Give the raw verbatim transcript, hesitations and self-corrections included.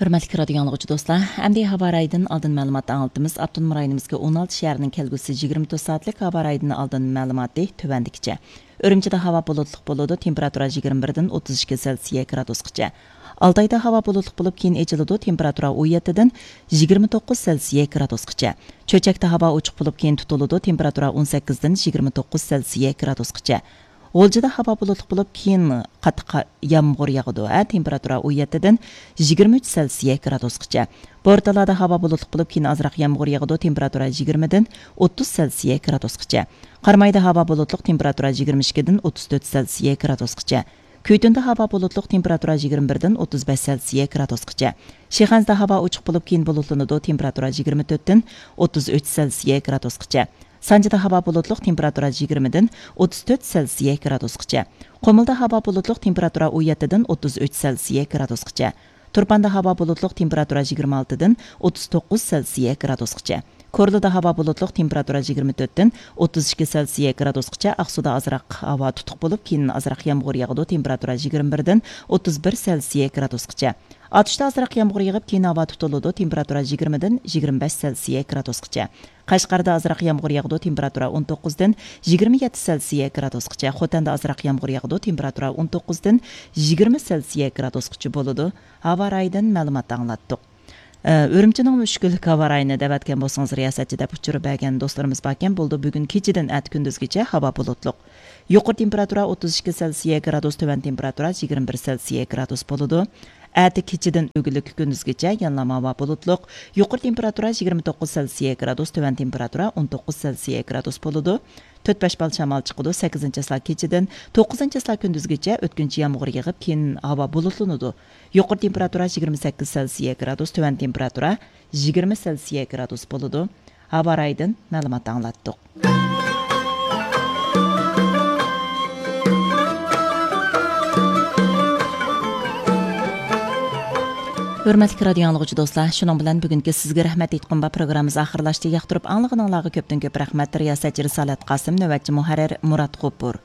ھۆرمەتلىك رادىيو ئاڭلىغۇچى دوستلار، ئەمدى ھاۋا رايىدىن ئالدىن مەلۇمات ئاڭلىتىمىز. ئاپتونوم رايونىمىزدىكى ئون ئالتە شەھەرنىڭ كەلگۈسى يىگىرمە تۆت سائەتلىك ھاۋا رايىدىن ئالدىن مەلۇماتى تۆۋەندىكىچە. ئۈرۈمچىدە ھاۋا بۇلۇتلۇق بولىدۇ، تېمپېراتۇرا يىگىرمە بىردىن ئوتتۇز ئىككى سېلسىيە گرادۇسقىچە. ئالتايدا ھاۋا بۇلۇتلۇق بولۇپ، كېيىن ئېچىلىدۇ، تېمپېراتۇرا ئون يەتتىدىن يىگىرمە توققۇز سېلسىيە گرادۇسقىچە. چۆچەكتە ھاۋا ئوچۇق بولۇپ، كېيىن تۇتۇلىدۇ، تېمپېراتۇرا ئون سەككىزدىن يىگىرمە توققۇز سېلسىيە گرادۇسقىچە. غۇلجىدا ھاۋا بۇلۇتلۇق بولۇپ، كېيىن قاتتىق قا-، يامغۇر ياغىدۇ. ھە، تېمپېراتۇرا ئون يەتتىدىن يىگىرمە ئۈچ سېلسىيە گرادۇسقىچە. بورتالادا ھاۋا بۇلۇتلۇق بولۇپ، كېيىن ئازراق يامغۇر ياغىدۇ، تېمپېراتۇرا يىگىرمىدىن ئوتتۇز سېلسىيە گرادۇسقىچە. قارامايدا ھاۋا بۇلۇتلۇق، تېمپېراتۇرا يىگىرمە ئىككىدىن ئوتتۇز تۆت سېلسىيە گرادۇسقىچە. كۈيتۈندە ھاۋا بۇلۇتلۇق، تېمپېراتۇرا يىگىرمە بىردىن ئوتتۇز بەش سېلسىيە گرادۇسقىچە. شىخەنزىدە ھاۋا ئوچۇق بولۇپ، كېيىن بۇلۇتلىنىدۇ، تېمپېراتۇرا يىگىرمە تۆتتىن ئوتتۇز ئۈچ سېلسىيە گرادۇسقىچە. سانجىدا ھاۋا بۇلۇتلۇق، تېمپېراتۇرا يىگىرمىدىن ئوتتۇز تۆت سېلسىيە گرادۇسقىچە. قۇمۇلدا ھاۋا بۇلۇتلۇق، تېمپېراتۇرا ئون يەتتىدىن ئوتتۇز ئۈچ سېلسىيە گرادۇسقىچە. تۇرپاندا ھاۋا بۇلۇتلۇق، تېمپېراتۇرا يىگىرمە ئالتىدىن ئوتتۇز توققۇز سېلسىيە گرادۇسقىچە. كورلىدا ھاۋا بۇلۇتلۇق، تېمپېراتۇرا يىگىرمە تۆتتىن ئوتتۇز ئىككى سېلسىيە گرادۇسقىچە. ئاقسۇدا ئازراق ھاۋا تۇتۇق بولۇپ، كېيىن ئازراق يامغۇر ياغىدۇ، تېمپېراتۇرا يىگىرمە بىردىن ئوتتۇز بىر سېلسىيە گرادۇسقىچە. ئاتۇشتا ئازراق يامغۇر يېغىپ، كېيىن ھاۋا تۇتۇلىدۇ، تېمپېراتۇرا يىگىرمىدىن يىگىرمە بەش سېلسىيە گرادۇسقىچە. قەشقەردە ئازراق يامغۇر ياغىدۇ، تېمپېراتۇرا ئون توققۇزدىن يىگىرمە يەتتە سېلسىيە گرادۇسقىچە. خوتەندە ئازراق يامغۇر ياغىدۇ، تېمپېراتۇرا ئون توققۇزدىن يىگىرمە سېلسىيە گرادۇسقىچە بولىدۇ. ھاۋا رايىدىن مەلۇمات ئاڭلاتتۇق. ئە، ئۈرۈمچىنىڭ مۈشكۈللۈك ھاۋا رايىنى دەۋەتكەن بولسىڭىز، رىياسەتچى دەپ ئۇچۇر بەرگەن دوستلىرىمىز باركەن، بولىدۇ، بۈگۈن كېچىدىن ئەتە كۈندۈزگىچە ھاۋا بۇلۇتلۇق. يۇقىرى تېمپېراتۇرا ئوتتۇز ئىككى سېلسىيە گرادۇس، تۆۋەن تېمپېراتۇرا يىگىرمە بىر سېلسىيە گرادۇس بولىدۇ. ئەتە كېچىدىن ئۆگۈنلۈك كۈندۈزگىچە يەنىلا ھاۋا بۇلۇتلۇق. يۇقىرى تېمپېراتۇرا يىگىرمە توققۇز سېلسىيە گرادۇس، تۆۋەن تېمپېراتۇرا ئون توققۇز سېلسىيە گرادۇس بولىدۇ. تۆت بەش بال شامال چىقىدۇ. سەككىزىنچى چىسلا كېچىدىن توققۇزىنچى چىسلا كۈندۈزگىچە ئۆتكۈنچى يامغۇر يېغىپ، كېيىن ھاۋا بۇلۇتلىنىدۇ. يۇقىرى تېمپېراتۇرا يىگىرمە سەككىز سېلسىيە گرادۇس، تۆۋەن تېمپېراتۇرا يىگىرمە سېلسىيە گرادۇس بولىدۇ. ھاۋا رايىدىن مەلۇمات ئاڭلاتتۇق. ھۆرمەتلىك رادىيو ئاڭلىغۇچى دوستلار، شۇنىڭ بىلەن بۈگۈنكى سىزگە رەھمەت ئېيتقۇم بار پروگراممىمىز ئاخىرلاشتى. ياقتۇرۇپ ئاڭلىغىنىڭلارغا كۆپتىن كۆپ رەھمەت. رىياسەتچى رىسالەت قاسىم، نۆۋەتچى مۇھەررىر مۇرات غوپۇر.